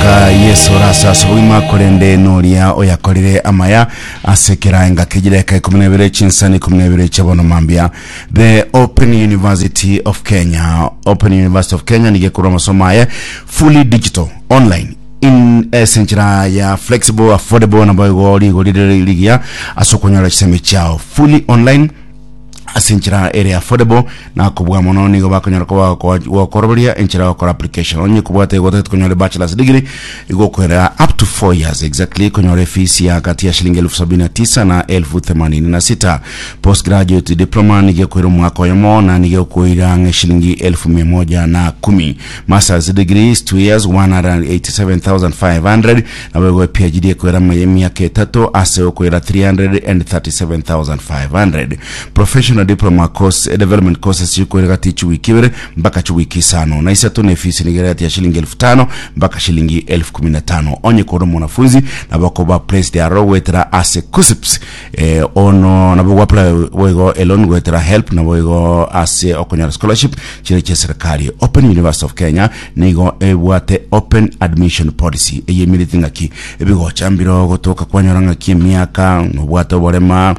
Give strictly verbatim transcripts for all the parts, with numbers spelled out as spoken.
Mpaka Yesu rasa ase korende noria oyakorire amaya ase keraenga kejireka ikumi na ibere chinsani ikumi na ibere chiabono mambia. The Open University of Kenya, Open University of Kenya nige kurwa masomo aye fully digital online in ase ya flexible, affordable, na boigo rigori rire rigiya ase okonyora chisemi chiao fully online ase enchera ere affordable na kobua mono. Nigo bakonyora koba gokoroberia enchera gokora application. Onye kobwate gotete konyora bachelor's degree, igokwera up to four years exactly, konyora fees ya kati ya shilingi elfu sabini na tisa na elfu themanini na sita. Postgraduate diploma nigekwira omwaka oyomo na nigekwira ng'e shilingi elfu mia moja na kumi. Masters degree is two years, one hundred eighty-seven thousand five hundred, na boigo P H D ekwera emiaka etato ase okwira three hundred thirty-seven thousand five hundred. Professional diploma course eh, development courses chikwera gati chiwiki ibere mpaka chiwiki isano na isato, na efisi nigerati ya shilingi elfu tano mpaka shilingi elfu kumi na tano. Onye koro mwanafunzi nabo placed aro gwetera ase KUCCPS, eh, ono nabo gwapply boigo elon gwetera HELB, nabo igo ase okonyora scholarship chire chia serikali. Open University of Kenya nigo ebwate open admission policy eyemirete ng'aki ebigocha mbiro gotoka kwanyora ng'aki emiaka nobwate oborema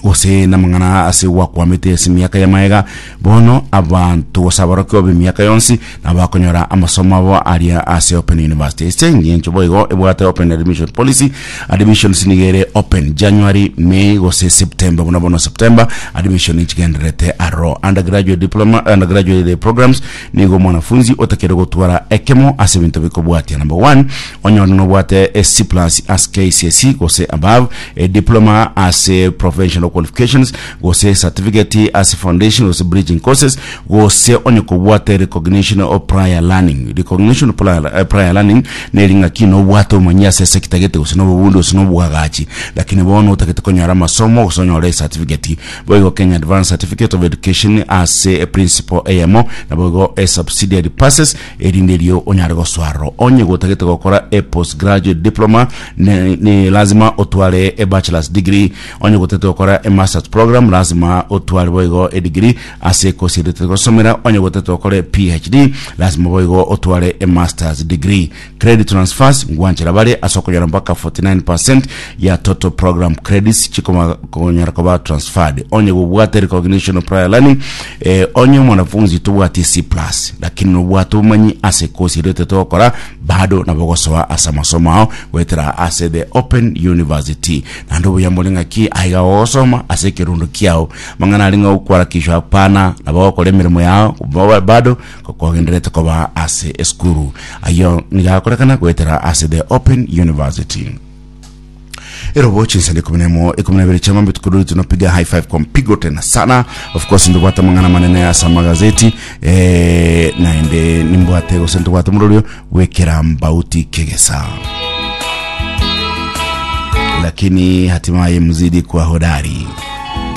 gose namang'ana ase gwakwamete ase emiaka ya maega. Bono abantu gose abarokio ba emiaka yonsi nabakonyora amasomo abo aria ase Open University. Ase eng'encho boigo ebwate open admission policy, admissions nigo ere open January, May gose September. Buna bono September admission nichigendererete aro. Undergraduate diploma, undergraduate programs, nigo mwanafunzi otakere gotwara ekemo ase ebinto bikobwatia. Number one, onyore nobwate a C plus as K C S E gose above, a diploma as a professional qualifications gose certificate as foundation gose bridging courses, gose onye kobwate recognition of prior learning. Recognition of prior, uh, prior learning neri ng'aki nobwate omanyi ase sector gete gose nobobundi gose nobwagachi, lakini bono otagete konyora amasomo gose onyore certificate. Boigo Kenya Advanced Certificate of Education ase a principle eyemo, naboigo a subsidiary passes, erinde erio onyare goswaro. Onye gotagete gokora a postgraduate diploma, ni, ni lazima otware a bachelor's degree. Onye gotagete gokora a masters program, lazima otware boigo a degree ase ekosi erete gosomera. Onye gotagete gokora a P H D, lazima boigo otware a masters degree. Credit transfers ngwanchera bare ase okonyora mpaka forty-nine percent ya total program credits chikonyara koba transferred onye gobwate recognition of prior learning. eh, onye mwanafunzi tobwati C plus lakini nobwate obumanyi ase ekosi erete togokora, bado nabo gosoa ase amasomo ao gwetera ase the Open University. Naende obuya mbore ng'aki aiga gogosoma ase ekerundu kiao mang'ana ari ng'a okwarakishwa hapana, nabo gokora emirimo yao ba- bado kogenderete koba ase esukuru ayo nigakorekana gwetera ase the Open University. Erobo chinsende ikumi na emo ikumi na ibere chama tukurudi, tunapiga high five kwa mpigo tena sana. Of course ndubwate mang'ana manene ase magazeti, eh, naende nimbwate gose ntubwate murorio gwekera mbauti kegesa, lakini hatimaye mzidi kuwa hodari.